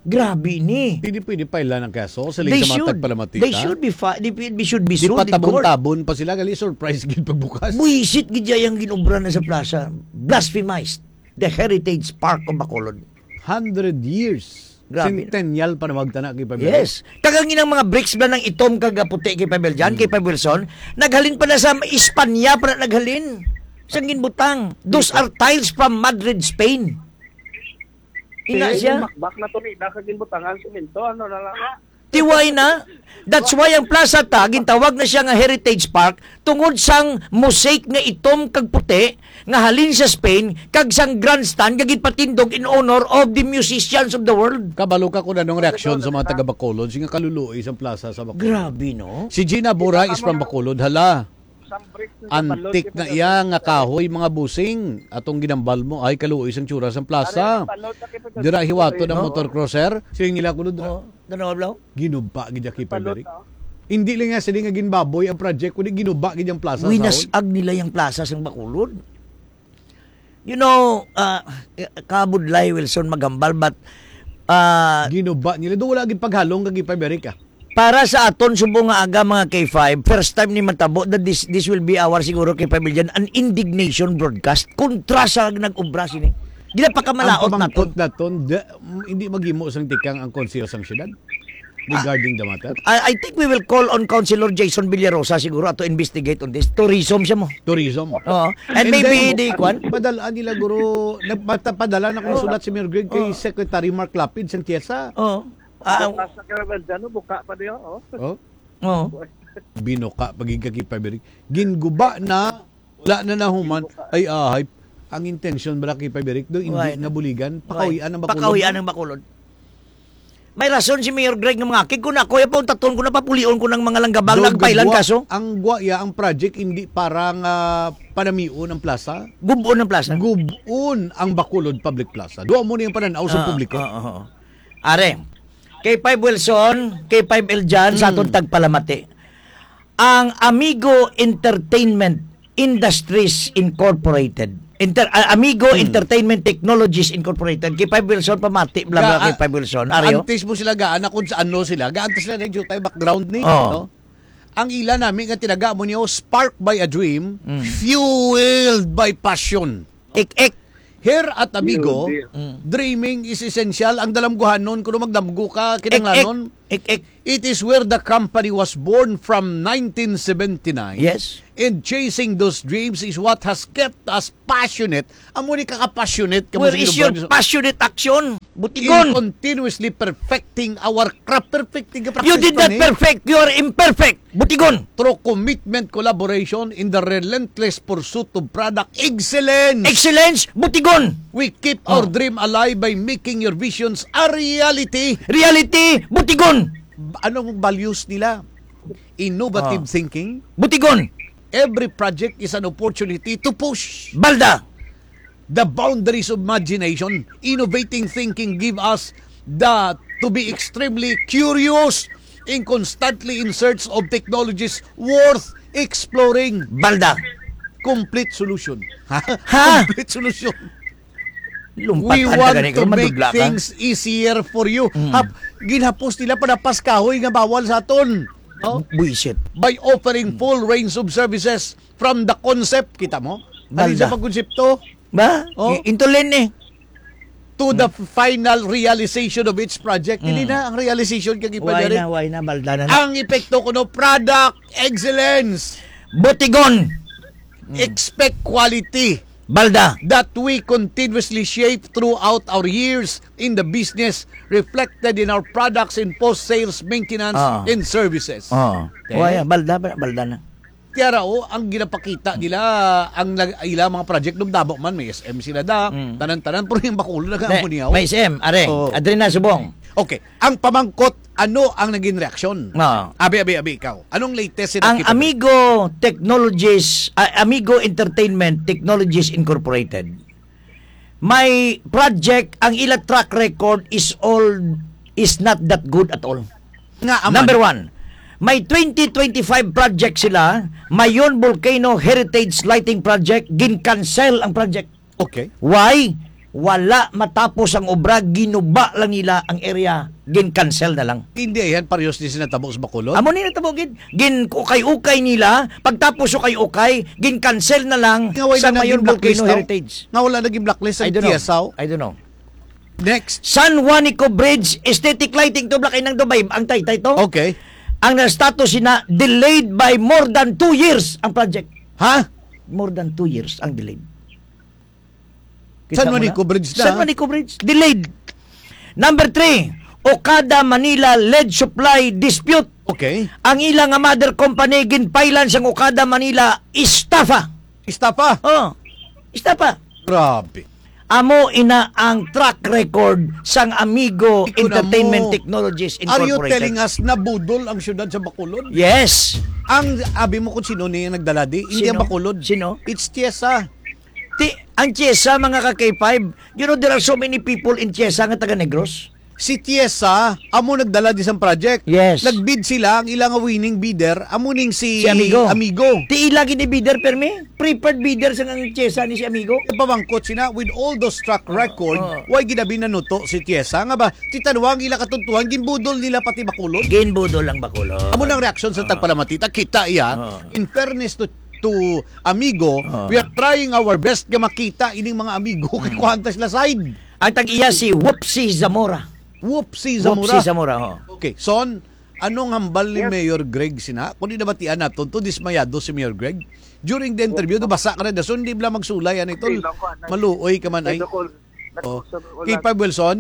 Grabe ni. Hindi pwede pailan ang kaso sa They liga sa mga should. Tagpalamati, They ha? Should be fi-, they, they should be Di sued in court. Patabon-tabon pa sila, gali surprise gid pagbukas. Buisit gid ang ginobra na sa plaza. Blasphemized the Heritage Park of Bacolod. Hundred years. Grabe. Centennial pa na magtana kay Pabel. Yes. Kag ang inang mga bricks ba ng itom kag puti kay Pabel dyan, Hmm. Kay Pabel Wilson, naghalin pa na sa Espanya pa na naghalin. Sang ginbutang. Those are tiles from Madrid, Spain. Ina Eh, siya. Makbak na to ni, da ka ginbutangan simento, ano na lang. Tiway na. That's why ang plaza ta, gintawag na siya nga Heritage Park, tungod sang mosaic nga itom kag puti, nga halin sa Spain, kag sang grandstand nga ginpatindog in honor of the musicians of the world. Kabalo ka kung anong reaksyon sa mga taga Bacolod, nga kaluluoy sang plaza sa Bacolod. Grabe, no? Si Gina Bura is from Bacolod, hala. Antik na iya nga kahoy, mga busing. Atong ginambal mo, ay, kaluoy sang tsura sang plaza. Dira hiwato ng motor crosser. Siling nila kuno dira. Oh, Danaw Ablaw? Ginuba gid kay Paberic. Hindi lang nga sila nga ginbaboy ang project, kundi ginuba gid ang plaza sa Winasag nila yung plaza sang Bacolod. You know, ah, kabudlay, Wilson, maghambal, but, ah, Ginuba nila. Do wala gid paghalong kag Paberic, ah. Para sa aton subong nga aga, mga K five, first time ni matabo that this, this will be our, siguro, K five Bilyan, an indignation broadcast kontra sa nag-ubra sini. Ginapakamalaot Ang pamangkot naton. Naton, da-, mm, hindi maghimo sang tikang ang konseho sang syudad regarding the matter? I, I think we will call on Councilor Jason Villarosa siguro to investigate on this. Tourism siya mo. Tourism. Oo. And And maybe then, the kwan? Padala nila, guro, nagpata-, padala na kong Oo. Sulat si Mayor Greg kay Oo. Secretary Mark Lapid sang TIESA. Oo. Ah, Bukas na ka naman dyan, no? Buka pa niyo, oh. Oh? Oo. Binuka, pagigagi pa, Beri. Ginguba na, wala na nahuman. Ay, ahay. Ang intensyon bala kay Paberic do, hindi Why? Nabuligan, Why? Pakawian ang Bacolod. Pakawian ang Bacolod. May rason si Mayor Greg nga mga kig ko na, kuya pa, untaton ko na, papulion ko ng mga langgabang Doon nagpailan gagwa, kaso. Ang gwa iya, ang project hindi para nga panamion ang plaza. Gubon ang plaza. Gubon ang Bacolod Public Plaza. Duha mo na yung pananaw sa Ah, publiko. Ah, ah, ah. Are, K five Wilson, K five Eljan, sa aton Mm. tagpalamati. Ang Amigo Entertainment Industries Incorporated. Inter-, ah, Amigo Hmm. Entertainment Technologies Incorporated. Kay Five Wilson, pamati, bla, bla, Ga-, kay Five Wilson. Aryo? Antes mo sila gaan, kung sa ano sila. Gaan to sila, na jutay background ni, Oh. no? Ang ila nami nga tinaga mo niyo, sparked by a dream, Hmm. fueled by passion. Ik-ik. Here at Amigo, Yun, yun. Mm. dreaming is essential. Ang dalamguhanon, kung magdamgo ka, kinanglanon. Ek, ek, ek, ek. It is where the company was born from nineteen seventy-nine. Yes. And chasing those dreams is what has kept us passionate. Amo ni ka-passionate ka Where mo sa is your inyong passionate action? In Butigon. Continuously perfecting our craft. Perfecting ka You practice did pa not ni. Perfect. You are imperfect. Butigon. Through commitment, collaboration, in the relentless pursuit of product excellence. Excellence. Butigon. We keep our Oh. dream alive by making your visions a reality. Reality. Butigon. Anong values nila? Innovative Ah. thinking. Butigon. Every project is an opportunity to push. Balda. The boundaries of imagination. Innovating thinking give us the, to be extremely curious and constantly in search of technologies worth exploring. Balda. Complete solution. Ha? Ha? Complete solution. Lumpat We ang want taga ni to ko, make madudla ka. Things easier for you. Mm. Hap-, ginhapos nila pa na paskahoy nga bawal sa aton. No? Buisit. By offering full range of services from the concept, kita mo? Ano Balda. Sa pagkonsepto? Ba? Oh. I-, intulin ni. To the final realization of each project. Mm. Hindi na ang realization kag Why ipadirect. Na, why na, balda na na. Ang epekto kuno, product excellence. Butigon. Mm. Expect quality. Balda. That we continuously shape throughout our years in the business, reflected in our products and post-sales maintenance Ah. And services. Ah. Okay. Why, balda, balda na. Tiara, oh, ang ginapakita nila, ang nag-, ila mga project, dumdamo man, may S M sila da, Mm. tanan-tanan, pero yung Bacolod na Ne, kamo niya, oh. May S M, are, Oo. Adre na, subong. Okay, ang pamangkot, Ano ang naging reaksyon? Ah. Abi, abi, abi, ikaw. Anong latest sa Ang nakita mo? Amigo Technologies, ah, Amigo Entertainment Technologies Incorporated, may project, ang ila track record is all, is not that good at all. Nga aman. Number one, may twenty twenty-five project sila, Mayon Volcano Heritage Lighting Project, gin-cancel ang project. Okay. Why? Wala matapos ang obra, ginuba lang nila ang area, gin-cancel na lang. Hindi yan, parehas ni sinatabo sa Bacolod. Amo ni natabo gid. Gin-ukay-ukay nila, pagtapos ukay-ukay, gin-cancel na lang Nga wala sa na Mayon naging blacklist Volcano daw? Heritage. Nga wala naging blacklist I ang don't know. Tiasaw. I don't know. Next. San Juanico Bridge, aesthetic lighting to, black, inang Dubai, ang taytay to. Okay. Ang na-status sina, delayed by more than two years ang project. Ha? More than two years ang delayed. San Kita mo na? Juanico Bridge na. San Juanico Bridge, delayed. Number three, Okada Manila lead supply dispute. Okay. Ang ila nga mother company ginpailan sang Okada Manila, estafa. Estafa? Oh, estafa. Grabe. Amo ina ang track record sang Amigo Ikaw na Entertainment mo. Technologies Are you Incorporated. Telling us na budol ang siyudad sa Bacolod? Yes. Ang abi mo kung sino ni nagdala di? Hindi ang Sino? Bacolod. Sino? It's Tiesa. Ti, ang Tiesa, mga ka K five, you know, there are so many people in Tiesa nga taga Negros. Si Tiesa, amo nagdala di sang project. Yes. Nag-bid sila, ang ilang winning bidder, amo ning si Si Amigo. Amigo. Ti ila gid ni bidder, permi? Preferred bidder sa ang Tiesa ni si Amigo? Pamangkot sina, with all those track record, Oh. why ginabi nanuto si Tiesa? Nga ba, titanwa ang ila katuntuhan, ginbudol nila pati Bacolod? Ginbudol ang Bacolod. Amo nang reaksyon sa Oh. tagpalamati. Ta kita iya, Oh. in fairness to, to Amigo, Oh. we are trying our best nga makita ining mga Amigo kay Mm. kuhanta sila side. Ang tag-iya si Whoopsie Zamora. Whoopsie Zamora. Whoopsie Zamora, oh. Okay, Son, anong hambal ni Yes. Mayor Greg sina? Kung di nabatian naton to, dismayado si Mayor Greg. During the interview, Yes. nabasa ka na, dason di bala magsulay, ano ito? Okay lang ko, anay. Maluoy ka man, ay. Medyo call. Oh. Nagsusunod ko K five lang. Wilson?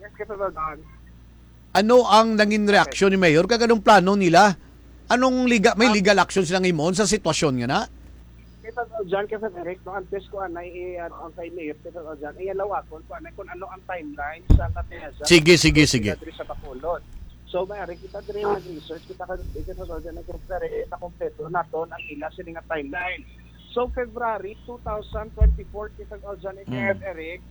Yes, K five Wilson. Ano ang nangin reaksyon ni Mayor? Kag anong plano nila? Anong liga-, may Um, legal action silang himuon sa sitwasyon nga na? Kita daw dyan, kasi direct, no, antes ko anay, eh, ano, ang kay Mayor, kita daw dyan, eh, lawakon ko anay kung ano ang timeline sa Katiyasan Sige, sige, sige. Diri sa Bacolod. So, may ari kita diri nag-research, kita ka, kita daw dyan, nag-compare, nakompleto naton ang ila sini nga timeline. So, February two thousand twenty-four, kita daw dyan, Mm. Eric,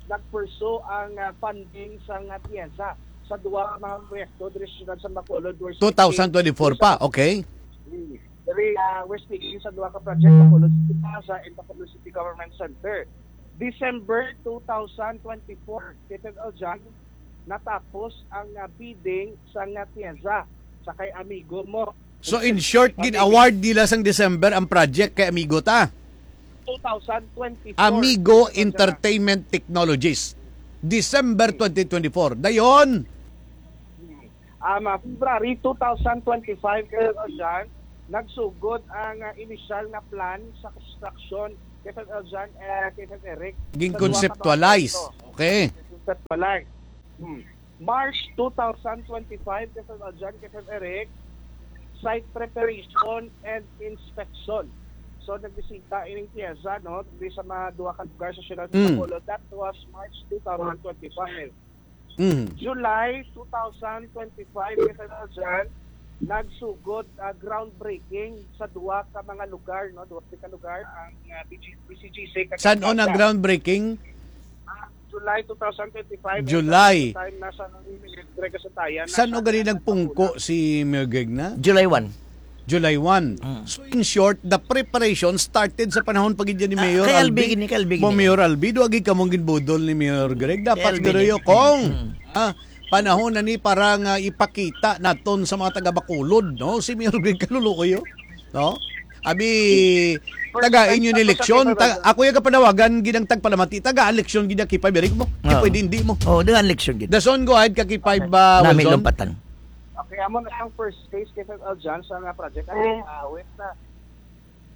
nag-pursue ang, ah, funding sa nga Tiyasan sa duwa ka mga proyekto diri sa siyudad sa Bacolod, where Two thousand twenty-four pa, okay. Mm. Diri, ah, we're speaking sa duha ka project, Bacolod City Plaza and Bacolod City Government Center. December two thousand twenty-four, Tito Eljan, natapos ang, ah, bidding sa nga Tiyasan sa kay amigo mo. So, in short, Amigo. gin-award nila sang December ang project kay amigo ta? Two thousand twenty-four. Amigo Tito Eljan. Entertainment Technologies. December twenty twenty-four. Dayon, Hmm. Um, ah, February two thousand twenty-five, Kuya Jan, nagsugod ang, ah, initial nga plan sa construction, Kuya Jan, eh, Kuya Eric, sa duha ka Gin-conceptualize. mga proyekto. Okay. Conceptualize. Hmm. March two thousand twenty-five, Kuya Jan, Kuya Eric, site preparation and inspection. So, nagbisita ining Tiyasan, no, diri sa mga duha ka lugar sa siyudad sa Mm. Bacolod. That was March two thousand twenty-five. Mm. July two thousand twenty-five, Kuya Jan, nagsugod, ah, groundbreaking sa duha ka mga lugar, no? Duha ka lugar, ang, ah, B G, B C G C kag San-o ang Plaza. groundbreaking? Ah, July two thousand twenty-five, July. Time na sa Greg Santayan, San-o nasa gani nagpungko si Mayor Greg na? July one. July one. Mm. So, in short, the preparation started sa panahon pa gid ni Ah, Mayor kay Albi Albi. gid ni, kay Albi gid Mo ni. Mayor Albi, duha gid kamong ginbudol ni Mayor Greg. Dapat Kay Albi gid ni. Kong, Mm. ah, panahon na ni para nga ipakita naton sa mga taga Bacolod, no? Si Mayor Greg Kaluluoy, oh. No? Abi, First taga time inyo ni tapos sa eleksyon, K five ta-, ako yung kapanawagan, gid ang tagpalamati, taga eleksyon, gid ang K five, Eric mo. Oo. Pwede hindi mo. Oo, taga eleksyon, gid. Dason, go ahead, ka K five, Okay. ah, Nami Wilson. Lumpatan. Okay, amo na ang first phase, K five Eljan, sa nga project. Ay, ah, wait na.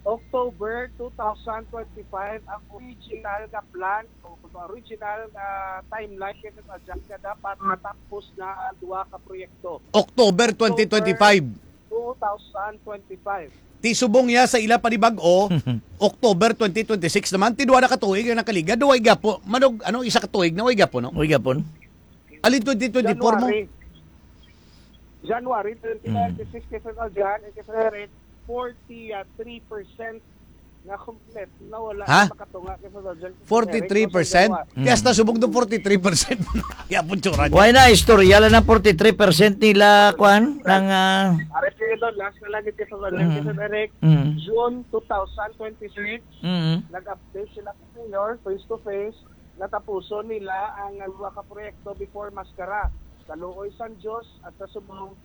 October two thousand twenty-five ang original nga plan o original nga timeline kay sa Jack nga dapat matapos na ang duha ka proyekto. October twenty twenty-five. October two thousand twenty-five. Ti subong niya sa ila panibag-o, October twenty twenty-six naman, ti duha na ka tuig ang nakaligad, duha gyapo, manog, ano, isa ka tuig na, way gyapo, no? Way gyapo. Alin twenty twenty-four mo? January. January twenty twenty-six, K five Aljan, and K five Eric, forty-three percent nga complete na wala Ha? na makatunga kay Federal General Forty-three percent? Eric, no, sa Jawa. Kaya hasta subong do forty-three percent. Yapon tsura niya. Why na, istorya lang ng forty-three percent nila, kwan, ng, ah, Ari, Fidel, last na lang ito sa Federal Mm. General Eric. Mm. June two thousand twenty-six, Mm. nag-update sila kay Mayor face to face, natapuson nila ang, ah, duha ka proyekto before Mascara, sa Luoy San Jose at sa Subong,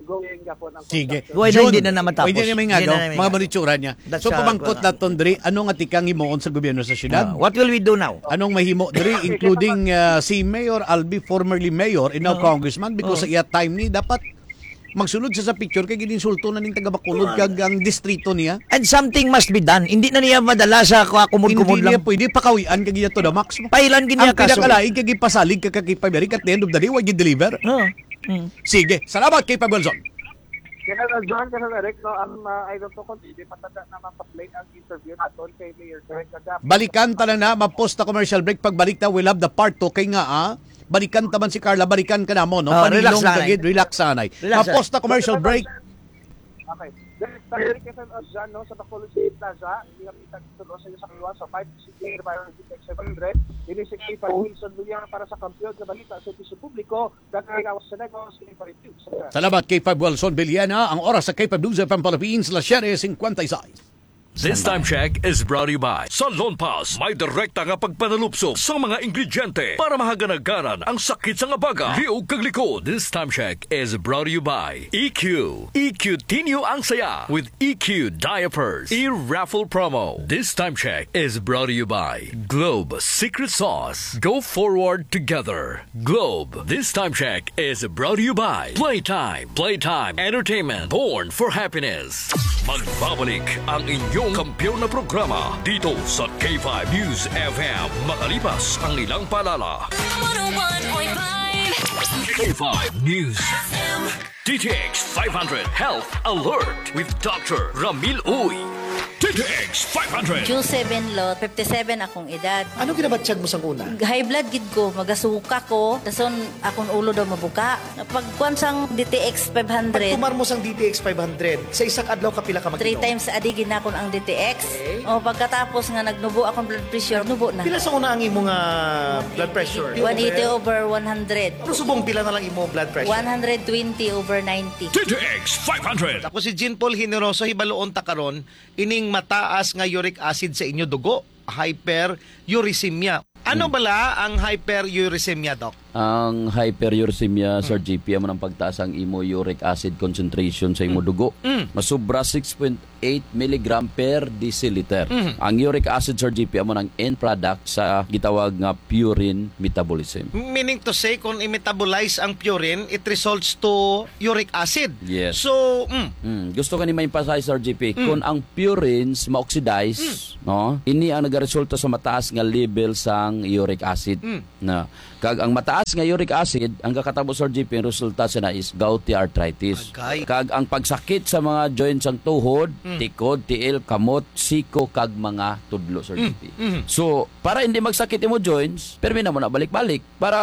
going gapon ang Sige. construction. Why na June, hindi na namatapos? Pwede na may Hindi ngagaw, na may mga ngagaw. Manitsura niya. That's So, a, pamangkot wala. naton diri, ano nga tikang himuon sa gobyerno sa syudad? Ah, what will we do now? Anong mahimo diri, Okay, including, ah, si Mayor Albi, formerly mayor, and now Oo. congressman, because Oo. sa iya time ni, dapat magsulod siya sa picture kay gininsulto na ning taga Bacolod kag ang distrito niya. And something must be done. Hindi na niya madala sa Hindi kumud-kumud niya lang. pwede pakawian kag iya to the max. Pailan gid niya Ang kaso. pinakalain kay gipasalig ka kag ipabiri at the end of the day, wa gid deliver. Oo. Mm. Sige, salamat kay Pag Wilson. Kaya na, John, kaya na, Rick, no, ang, ah, I don't know kung hindi matanda na mapaplay ang interview naton kay Mayor Karen Cagapo. Balikan ta na na, ma-pause ta commercial break. Pagbalik ta, we'll have the part two. Kay nga, ah, balikan ta man si Carla, balikan ka na mo, no? Oh, Panilong relax, nanay. kagid, relax, anay. Relax, Ma-pause ta commercial break. Okay. Then, sa Eric Quezon Ozan, no, sa Bacolod City Plaza, hindi kami tagtulo sa iyo sa kaliwa, sa five sixty-eight, seven hundred. Ini si K five Wilson Villar para sa Kampiyon sa Balita sa Opisyo Publiko, Dagay Lawas sa Negros, K five News. Salamat, K five Wilson Villena. Ang oras sa K five News F M Philippines, las siete cincuenta y seis. This time check is brought to you by Salon Pass. May direkta nga pagpanalupso sa mga ingrediente para mahaganaganan ang sakit sa nga baga, liog kag likod. This time check is brought to you by E Q. E Q Tinyo ang saya with E Q diapers. E-raffle promo. This time check is brought to you by Globe Secret Sauce. Go forward together. Globe. This time check is brought to you by Playtime. Playtime Entertainment. Born for happiness. Magbabalik ang inyong kampiyon na programa dito sa K five News F M makalipas ang ilang paalala. One oh one point five K five News F M. D T X five hundred Health Alert with Doctor Ramil Uy. D T X five hundred. June seven, Lot, fifty-seven akong edad. Ano ginabatyag mo sang una? High blood gid ko, magasuka ko, dason akong ulo daw mabuka. Pagkuan sang D T X five hundred. Pagtumar mo sang D T X five hundred, sa isa ka adlaw kapila ka Three magkinom? times a day ginakon ang D T X. Okay. O, pagkatapos nga nagnubo akong blood pressure, nubo na. Pila sa una ang imo nga blood pressure? One eighty over one hundred. Pero subong pila na lang imo blood pressure? One hundred twenty over ninety. D T X five hundred. Ako si Jean Paul Generoso, hibaluon ta karon ining mataas nga uric acid sa inyo dugo, hyperuricemia. Ano Hmm. bala ang hyperuricemia, Doc? Ang hyperuricemia, Sir Hmm. G P, amo nang pagtaas ang imo uric acid concentration sa imo Hmm. dugo. Hmm. Masubra six point eight milligram per deciliter. Hmm. Ang uric acid, Sir G P, amo nang end product sa gitawag nga purine metabolism. Meaning to say, kung i-metabolize ang purine, it results to uric acid. Yes. So, mm. Mm. Gusto ko ni ma-emphasize, Sir G P, Mm. kung ang purines ma-oxidize, Mm. no? Ini ang nagaresulta sa mataas nga level sang uric acid. Mm. Na, kag ang mataas nga uric acid, ang kakatabo, Sir G P, ang resulta sa na is gouty arthritis. Agay. Kag ang pagsakit sa mga joints sang tuhod, Mm. tikod, tiil, kamot, siko, kag mga tudlo, Sir Mm. G P. Mm. So, para hindi magsakit imo joints, permi na mo na balik-balik. Para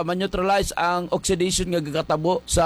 ma-neutralize ang oxidation nga gakatabo sa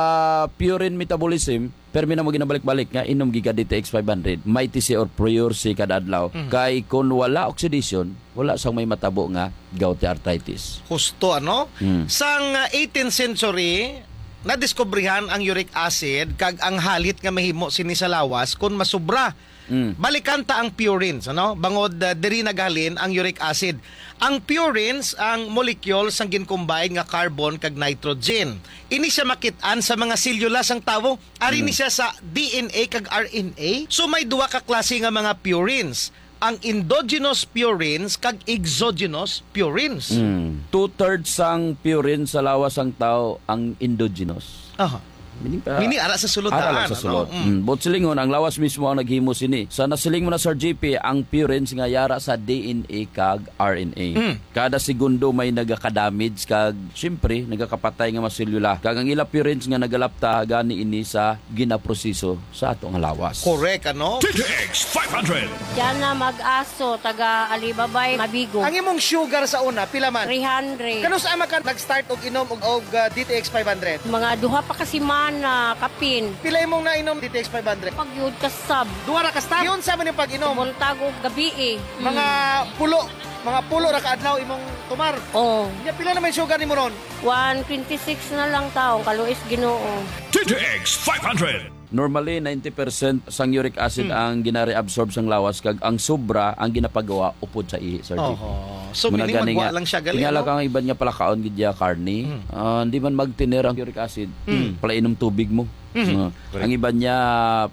purine metabolism, permi na mo ginabalik-balik nga inom gid ka D T X five hundred, Mighty C or Prior C kada adlaw. Mhm. Kay kung wala oxidation, wala sang may matabo nga gouty arthritis. Husto, ano? Mm. Sang, ah, eighteenth century, nadiskubrihan ang uric acid kag ang halit nga mahimo sini sa lawas kon masubra. Mm. Balikan ta ang purines, ano? Bangod, ah, diri naghalin ang uric acid. Ang purines ang molecule sang gincombine nga carbon kag nitrogen. Ini siya makit-an sa mga selyula sang tawo. Ari ni Mm. siya sa D N A kag R N A. So, may duha ka klase nga mga purines. Ang endogenous purines kag exogenous purines. Mm. Two-thirds sang purine sa lawas sang tawo ang endogenous. Aha. Meaning pa, Meaning, ara sa sulod ara daan, lang sa ano? sulod. Mm. Mm. But silingon, ang lawas mismo ang naghimo sini. Sa nasiling mo na, Sir G P, ang purines nga yara sa D N A kag R N A. Mm. Kada segundo may nagaka-damage kag, siyempre, nagakapatay nga mga selula. Kag ang ila purines nga nagalapta, gani ini sa ginaproseso sa ato nga lawas. Correct, ano? D T X five hundred. Diyan na mag-aso, taga Alibabay, Mabigo. Ang imong sugar sa una, pila man? Three hundred. Kanus-a man ka nag-start og inom og, og, ah, D T X five hundred? Mga duha pa ka semana. Ana, kapin. Pila imong nainom D T X five hundred? Pagyud kasab. Duha ra ka stop? Yun sa man yung pag-inom? Buntag o gabi eh. Mga pulo, mga pulo ra ka adlaw imong tumar. Oh. Nya, pila naman yung sugar nimo ron? One twenty-six na lang taong, kaluis Ginoo. D T X five hundred. Normally, ninety percent sang uric acid Hmm. ang ginareabsorb sang lawas, kag ang sobra ang ginapagawa upod sa ihi, Sir J P. Oho. So, Muna meaning gani magwa nga, lang siya gali, tingala ano? Ka ang iban nga palakaon gid ya karne. Hmm. Ah, hindi man magtiner ang uric acid. Hmm. Palainom tubig mo. Hmm. Ah, Correct. Ang iban niya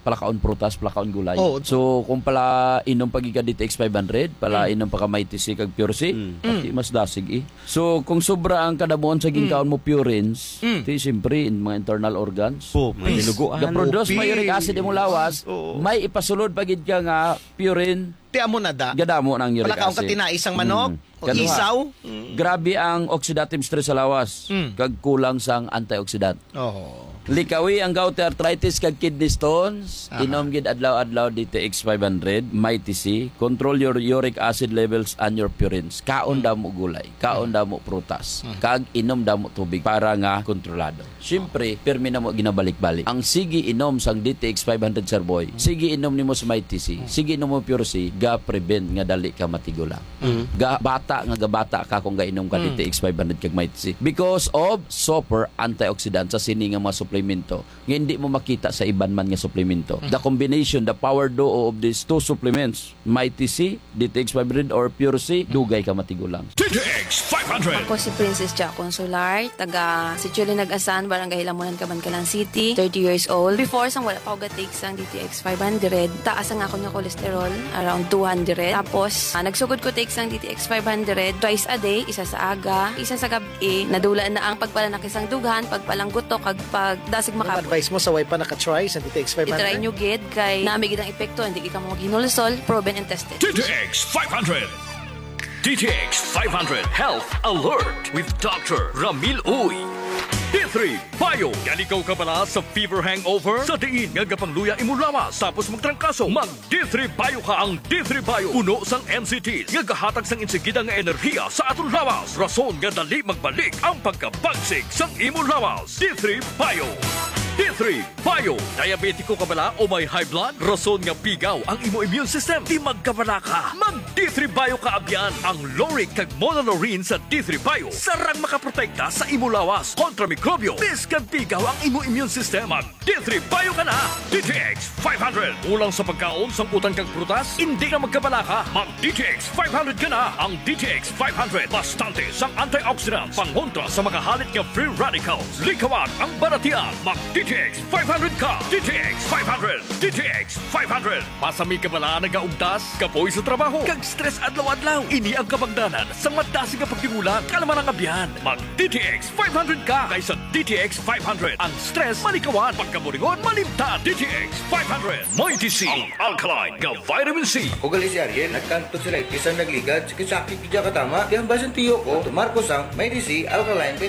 palakaon prutas, palakaon gulay. Oh. So, kung pala inom pa gid ka D T X five hundred, pala Hmm. inom pa ka Mighty C kag Pure C, Hmm. pati mas dasig eh. So, kung sobra ang kadamuan sa ginkaon Mm. mo purines, Mm. ti siyempre, in mga internal organs. Po, Please, mahinuguan. Ga-produce Opis. May uric acid imong lawas, Oo. May ipasulod pa gid ka nga purine, Ti amo na da. Gadamo na ang uric Palakaon ka acid. Tinai sang manok, Mm. o Kaduha, isaw. Mm. Grabe ang oxidative stress sa lawas, Mm. kag kulang sang antioxidant. Oh. Likawi ang gouty arthritis kag kidney stones. Aha. Inom gid adlaw-adlaw D T X five hundred, Mighty C. Control your uric acid levels and your purines. Kaon Mm. damo gulay, kaon Mm. damo prutas, Mm. kag inom damo tubig para nga kontrolado. Siyempre, pirmi na mo ginabalik-balik. Ang sige inom sang D T X five hundred, Sir Boy, Mm. sige inom nimo sa Mighty C, Mm. sige inom mo Pure C, ga-prevent nga dali ka matigulang. Mm. Ga bata nga gabata ka kung gainom ka Mm. D T X five hundred kag Mighty C because of super antioxidant sa sini nga mga suplemento nga hindi mo makita sa iban man nga suplemento. Mm. The combination, the power duo of these two supplements, Mighty C, D T X five hundred or Pure C, dugay ka matigulang. D T X five hundred. Ako si Princess Ja Consular, taga Sitio Linagasan, Barangay Lamunan, Kabankalan City, thirty years old. Before, sang wala pa ako ga-take sang D T X five hundred, taas ang akon nga cholesterol, around two hundred. Tapos, ah, nagsugod ko take sang D T X five hundred twice a day, isa sa aga, isa sa gabi. Nadula na ang pagpalanaki sang dughan, pagpalanggutok, kag pagdasig Ang makapot. Advice mo sa way pa naka-try sa D T X five hundred? I-try nyo gid, kay nami gid ang epekto, hindi gid ka mo maghinulsol, proven and tested. D T X five hundred. D T X five hundred Health Alert with Doctor Ramil Uy. D three Bio. Yan ikaw kabala sa fever hangover? Sa diin nga gapangluya imo lawas tapos magtrangkaso, mag D three Bio ka. Ang D three Bio puno sang N C Ts nga gahatag sang insigida nga enerhiya sa aton lawas, rason nga dali magbalik ang pagkabagsik sang imo lawas. D three Bio. D three Bio. Diabetiko ka bala o may high blood? Rason nga pigaw ang imo immune system. Di magkabala ka. Mag D three Bio ka abyan. Ang lauric kag monolaurin sa D three Bio sarang makaprotekta sa imo lawas kontra mikrobyo. Biskag pigaw ang imo immune system, mag D three Bio ka na. D T X five hundred. Kulang sa pagkaon, sang utan kag prutas? Hindi na magkabala ka. Mag D T X five hundred ka na. Ang D T X five hundred, bastante sang antioxidants, pangontra sa mga halit nga free radicals. Likawan ang balatian. Mag D T X five hundred ka. D T X five hundred. D T X five hundred. Masami ka bala nagaugtas, kapoy sa trabaho, kag stress adlaw-adlaw? Ini ang kabangdanan sang madasig nga pagtingulang. Kalma lang, abyan. Mag D T X five hundred ka, kay sa D T X five hundred, ang stress malikawan, pagkaburingon malimtan. D T X five hundred. Mighty C, ang alkaline nga vitamin C. Ako gali si Ariel, nagkang tonsillitis ang nagligad, sakit-sakit gid katama. Kaya ang basin tiyo ko, tumar ko sang Mighty C alkaline vitamin